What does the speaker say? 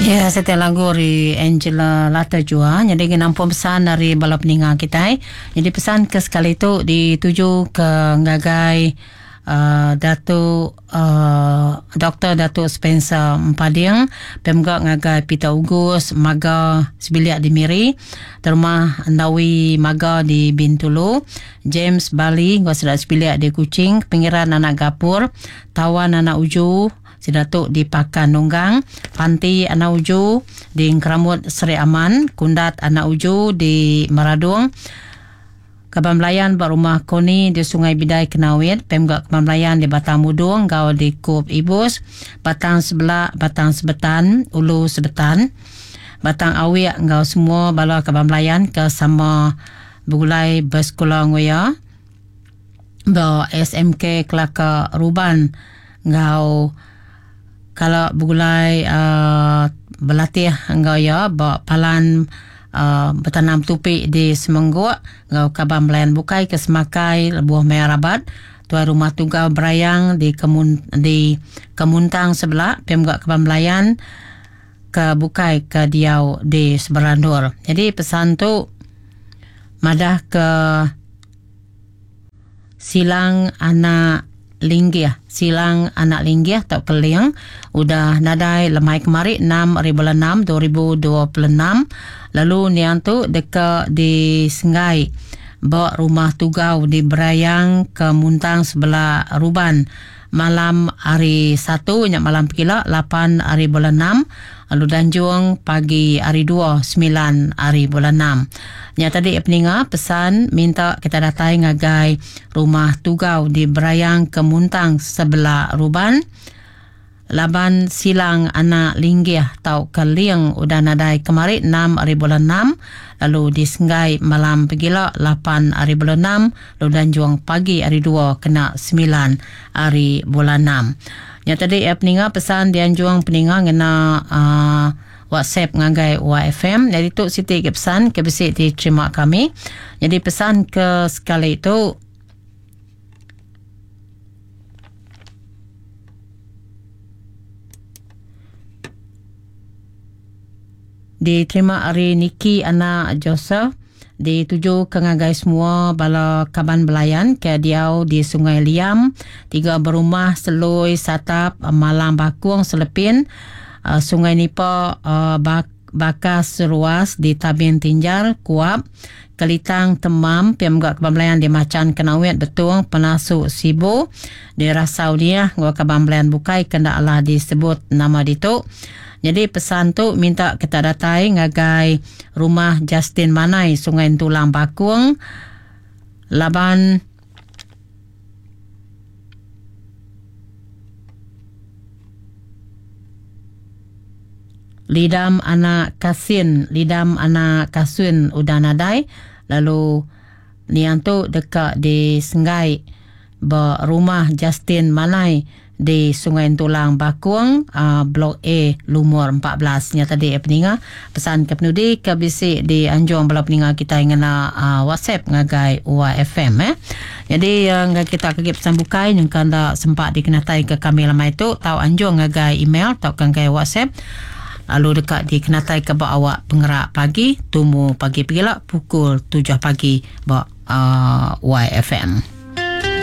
Ya, siti lagu ari Angela Lata Jua. Jadi ke nampung pesan ari bala peninga kitai. Jadi pesan ke sekali tu dituju ke ngagai uh, Datu uh, Dr. Datu Spencer Empading, pemga ngagai Peter Ugus, Maga Sebilik di Miri, Terumah Endawi Maga di Bintulu, James Bali enggau sida sebilik di Kuching, Pengiran Anak Gapur, Tawan Anak Uju, Sida tu di Pakan Nunggang, Panti Anak Uju di Engkeramut Seri Aman, Kundat Anak Uju di Meradong, Kaban Belayan ba Rumah Koni di Sungai Bidai Kenawit, Pemga Kaban Belayan di Batang Mudong enggau di Kup Ibus, Batang Sebelak, Batang Sebetan, Ulu Sebetan, Batang Awik enggau semua bala kaban belayan ke sama begulai besekula enggau iya. Ba SMK Kelaka Ruban enggau kala begulai uhh belatih enggau iya ba palan uhh betanam tupi di Semenggok enggau kaban belayan bukai ke semakai lebuh maya rabat Tuai Rumah Tugau Berayang di Kemun di Kemuntang Sebelak pia mega kaban belayan ke bukai ke diau di Seberandor. Jadi pesan tu madah ke Silang anak Linggih Silang anak Linggih tauka Ling udah nadai lemai kemari enam ari bulan enam 2026 lalu niang tu deka disenggai ba Rumah Tugau di Berayang ke Muntang sebelah Ruban malam hari Satu nya malam pegila lapan ari bulan enam lalu danjung pagi hari dua semilan ari bulan enam. Nya tadi peninga pesan minta kita datai ngagai Rumah Tugau di Berayang Kemuntang sebelah Ruban laban silang anak Linggih tauka Ling udah nadai kemari enam ari bulan enam lalu disenggai malam pegila lapan ari bulan enam lalu danjung pagi hari dua kena semilan ari bulan enam. Nya tadi iya peninga pesan dianjung peninga ngena uhh WhatsApp ngagai YFM. Nyadi tu siti ke pesan ke bisi diterima kami. Nyadi pesan ke sekali tu Diterima ari Nicky anak Joseph ditujuka ngagai semua bala kaban belayan ke diau di Sungai Liam, tiga berumah Selui Satap, Malang Bakung Selepin, Sungai Nipa Bakas Ruas di Tabin Tinjar, Kuap, Kelitang Temam, pia mega kaban belayan di Machan Kenawit Betong, Penasu Sibu, di Rasau Niah enggau kaban belayan bukai ke enda alah disebut nama ditu. Nyadi pesan tu minta kita datai ngagai Rumah Justin Manai Sungai Entulang Bakung laban Lidam anak Kasin Lidam anak Kasun udah nadai lalu niang tu deka disenggai ba Rumah Justin Manai di Sungai Entulang Bakung, Blok A, lumur 14. Nya tadi peninga pesan ke penudi ke bisi dianjung bala peninga kitai ngena WhatsApp ngagai YFM. Eh. Jadi ngagai kita ke agi pesan bukai nyengka enda sempat dikenatai ke kami lemai tu tau anjung ngagai email tauka ngagai WhatsApp lalu deka dikenatai ke ba awak pengerak pagi tumu pagi pegila pukul 7 pagi ba YFM.